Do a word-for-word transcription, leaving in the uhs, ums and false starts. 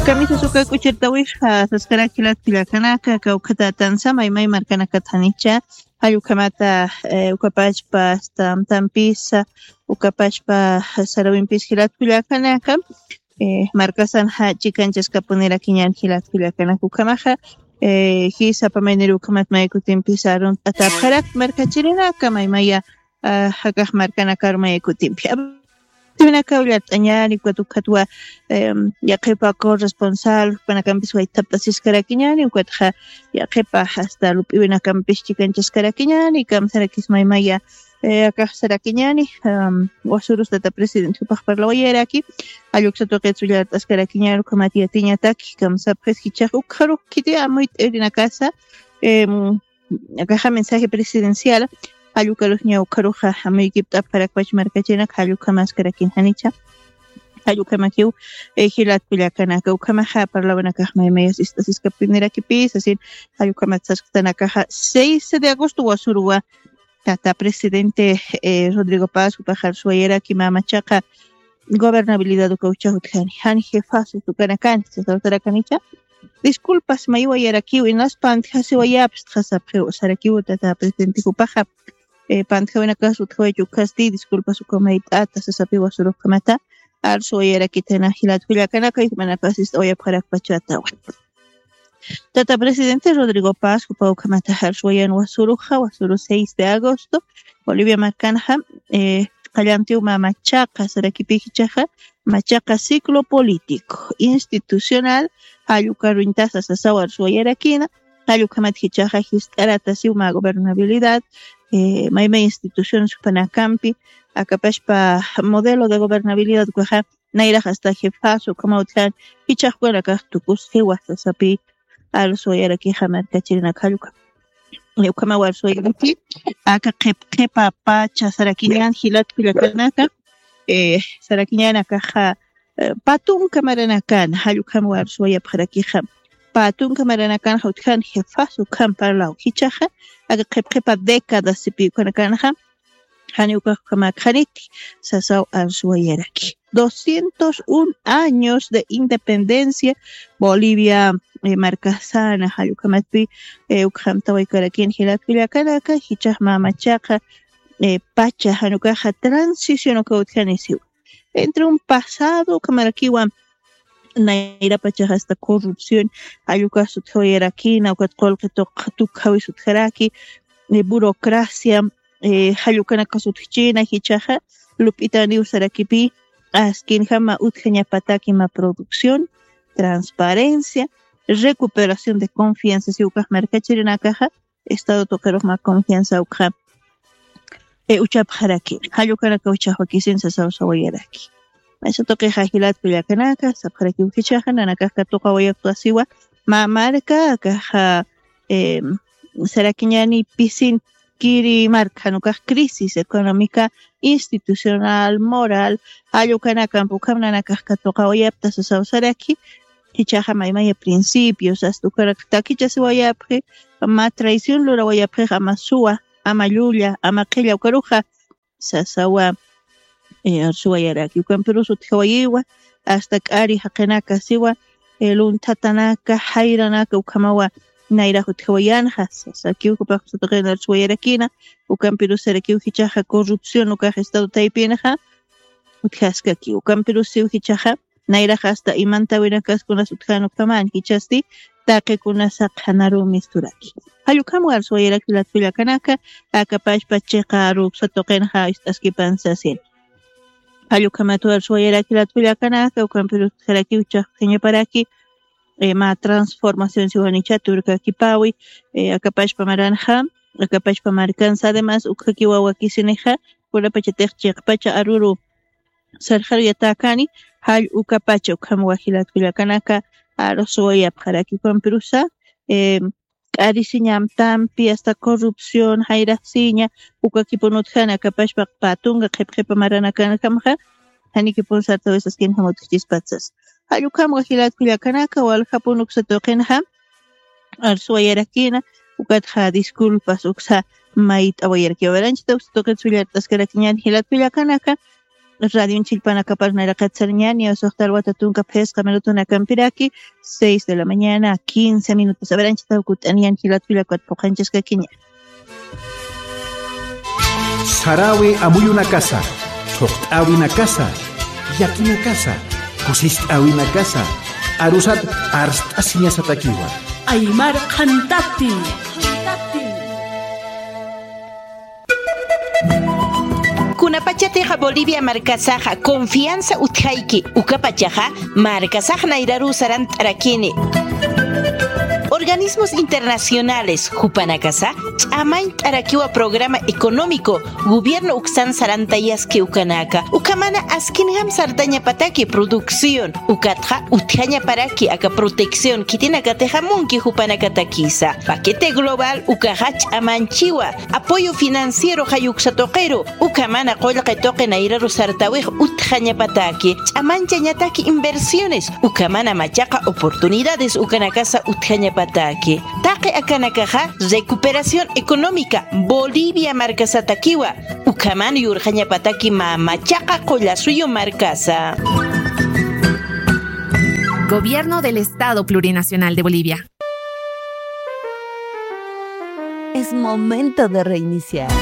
Kamisas uka k'uchirtawix saskarak jilat kullakanaka kawkhatätansa maymay markanakat janicha, jallukhamata ukapachpa stamtampisa ukapachpa sarawimpis jilat kullakanaka. Markasan ja chikanchaskapunirakiñan jilat kullakanaka ukhamaxa, jisa pamaynir ukhamat mayakutimpisa arunt'atapxarak markachirinaka maymaya jakax markanakar mayakutimpia. Tiwinaka ullart'añani ukat ukhatwa yaqhipa corresponsal jupanakampis waythapt'asiskarakiñani ukatxa yaqhipa hasta lup'iwinakampis chikanchaskarakiñani kamsarakismaymaya. Akaxsarakiñani wasurus tata presidente jupax parlawayaraki. Alluksatuqitsu ullart'askarakiñani ukhamat yatiñataki kamsapxis jichax ukxarux khiti amuyt'irinakasa. Akaxa mensaje presidencial jallukarusña ukharuxa jamuykipt'apxarakpach markachinak jallukamaskarakin janicha. Jallukamakiw jilat kullakanaka ukhamaxa parlawanakax maymayas ist'asiskapinirakipi sasin. Jallukamat sasktanakaxa seis de agosto wasuruwa tata presidente Rodrigo Paz jupaxar suwayaraki mamachaqa gobernabilidad uka uchax utjani jan jefas utukanakani sasawtarakanicha. Disculpas maywayarakiw inas pantjasiwayapstxa sapxiw sarakiw tata presidente jupaxa. Pantjawinakas utjawayach ukhasti disculpas uka mayt'ata sasapiwa surujkamata. Arsuwayarakitana jilat jullakanaka yujmanakas ist'awayapxarakpachatawa. Tata presidente Rodrigo Paz jupa ukhamata arsuwayan wasuruxa wasuru seis de agosto bolivia markanxa. Qallantiw mamachaqa sarakipikichaxa machaqa ciclo político institucional jallukaruñtasa sasaw arsuwayarakina. Jallukamat jichaxa jist'aratasiw mä gobernabilidad mayma instituciones jupanakampi akapashpa modelo de gobernabilidad ukaxa nayrax asta jefas ukhama utjan jichax ukanakax tukusqiwa sasapi. Arsuwayarakixa markachirinak jalluka ukhamaw arsuwayaraki aka qhipqhipa pacha sarakiñan jilat kullakanaka. Sarakiñan akaxa patunka maranakan jallukham warsuwayapxarakixa. Patunka maranakan jawtjan jefas ukham parlaw jichaxa aka qhipqhipa década sipi ukhanakanxa. Jani ukaxkhamakxaniti sasaw arsuwayaraki doscientos un años de independencia. Bolivia markasana jallukhamatpi ukxamtawaykarakin jilat kullakanaka jichax mamachaqa pacha janukaxa transición uka utjanisiwa entre un pasado ukamarakiwa. Nayrapachaxa asta corrupción jallukax sutjawayarakina ukat qullqi tukjawi sutjaraki burocracia. Jallukanakas utjchina jichaxa lup'itaniw sarakipi askinjama utjañapataki ma producción transparencia recuperación de confianza si ukax markachirinakaxa estado tuqirux mä confianza ukxa uchapxaraki jallukanaka uchaxwakisin sasawsawayaraki. Maysa tuqixa jilat kullakanaka sapxarakiw jichaxa nanakax katuqawayaptasiwa mä marka akaxa sarakiñani pisin kiri marka janukax crisis económica institucional moral jallukanakampukam nanakax katuqawayapta sasawsaraki. Jichaxa maymaya principios asta ukarak takichasiwayapxi mä traición lurawayapxix ama suwa ama llulla ama qhilla ukaruxa sasawa. Arsuwayaraki ukampirus utjawayiwa asta k'ari jaqinaka siwa lunthatanaka jayranaka ukhamawa nayrax utjawayanxa sasakiw jupax satuqin arsuwayarakina. Ukampirus sarakiw jichaxa corrupción ukax estado taypinxa utjaskaki ukampirus siw jichaxa nayrax asta imantawinakas kunas utjan ukhaman jichasti taqi kunas saqhanaruw misturaki. Jallukhamwa arsuwayaraki jilat kullakanaka akapashpa chiqa aruksa tuqinxa ist'askipan sasin. Jallukhamatuw arsuwayaraki jilat kullakanaka ukampirus utjarakiw chaqtañaparaki mä transformación siwanicha turkakipawi akapashpa maranxa akapashpa markansa además ukhakiwa wakisinixa kunapachatix chiqpacha aruru sarxaruyatäkani jall ukapacha ukham wajilat kullakanaka arsuwayapxaraki ukampirusa k'arisiñamtampi asta corrupción jayraqsiña ukakipun utjana akapashpa patunka qhipqhipa maranakankamxa janikipun sartawisaskinjam utjchispatsas. Jall ukham wajilat kullakanaka waljapun uksa tuqinjam arsuwayarakina ukatxa disculpas uksa mayt'awayarakiwa waranchita uksa tuqit sullart'askarakiñan jilat kullakanaka. radion chillpanakapar nayraqat sarañäni, usuxta alwata tunka phisqa minutunakampiraki, seis de la mañana, quince minutos. A ver, anchhitaw kut'aniyan jilat wilakwat puqanchaskakiña. Saräwi amuyunakasa, thuqt'äwinakasa, llakinakasa, kusist'äwinakasa, arusat arst'asiñasatakiwa. Aymar qhantati. Kunapachatixa Bolivia markasaxa confianza utjayki, ukapachaxa markasax nayraruw sarant'arakini. Organismos internacionales jupanakasa ch'amañt'arakiwa programa económico gobierno uksan sarantayaski ukanaka, ukhamana askinjam sartañapataki producción, ukatxa utjañaparaki aka protección khitinakatixa munki jupanakatakisa. Paquete global ukaxa ch'amanchiwa, apoyo financiero jayuksa tuqiru, ukhamana qullqi tuqi nayraru sartawix utjañapataki, ch'amanchañataki inversiones, ukhamana machaqa oportunidades ukanakasa utjañapataki. Taqi akanakaxa recuperación económica Bolivia markasatakiwa, ukhaman yurqañapataki mä machaqa qullasuyu markasa. Gobierno del Estado Plurinacional de Bolivia. Es momento de reiniciar.